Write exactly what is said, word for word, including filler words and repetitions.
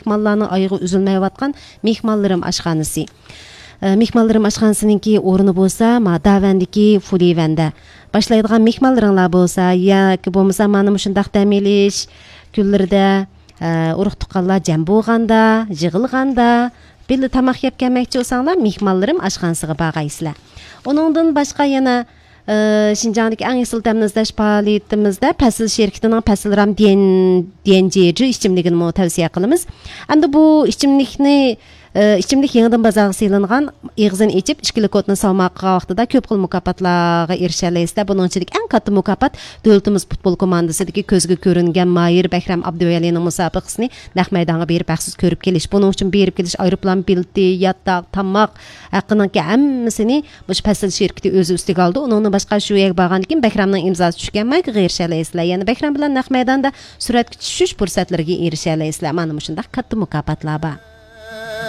مېھمانلارنىڭ ئايىغى ئۈزۈلمەيۋاتقان مېھمانلىرىم ئاشخانىسى. ئە، مېھمانلىرىم ئاشخانىسىنىڭكى ئورنى بولسا، ما، داۋەندىكى فۇلىۋەندە. باشلايدىغان مېھمانلىرىڭلار بولسا ياكى بولمىسا مانا مۇشۇنداق دەم ئېلىش كۈنلىرىدە، ئە، ئۇرۇق-تۇغقانلار جەم بولغاندا، يىغىلغاندا، بىللە تاماق يەپ كەلمەكچى بولساڭلار، مېھمانلىرىم ئاشخانىسىغا بارغايسىلەر. ئۇنىڭدىن باشقا يەنە، ئە، شىنجاڭدىكى ئەڭ ئېسىل تەمنى ئىزدەش پائالىيىتىمىزدە پەسىل شىركىتىنىڭ پەسىل رام ديەن-، ديەنجيېجى ئىچىملىكىنىمۇ تەۋسىيە قىلىمىز. ئەمدى بۇ ئىچىملىكنى ئى، ئىچىملىك يېڭىدىن بازارغا سېلىنغان، ئېغىزىنى ئېچىپ، ئىككىلا كودنى سالماق قىلغان ۋاقتىدا كۆپ خىل مۇكاپاتلارغا ئېرىشەلەيسىلەر. بۇنىڭ ئىچىدىكى ئەڭ كاتتا مۇكاپات دۆلىتىمىز پۇتبول كوماندىسىدىكى كۆزگە كۆرۈنگەن ماھىر بەھرام ئابدۇۋەلىنىڭ مۇسابىقىسىنى نەق مەيدانغا بېرىپ ھەقسىز كۆرۈپ كېلىش. بۇنىڭ ئۈچۈن بېرىپ كېلىش ئايروپىلان بېلىتى، ياتاق، تاماق ھەققىنىڭكى ھەممىسىنى مۇشۇ پەسىل شىركىتى ئۆزى ئۈستىگە ئالدى. ئۇنىڭدىن باشقا شۇ يەرگە بارغاندىن كېيىن بەھرامنىڭ ئىمزاسى چۈشكەن مايكىغا ئېرىشەلەيسىلەر. يەنە بەھرام بىلەن نەق مەيداندا سۈرەتكە چۈشۈش پۇرسەتلىرىگە ئېرىشەلەيسىلەر. مانا مۇشۇنداق كاتتا مۇكاپاتلار بار.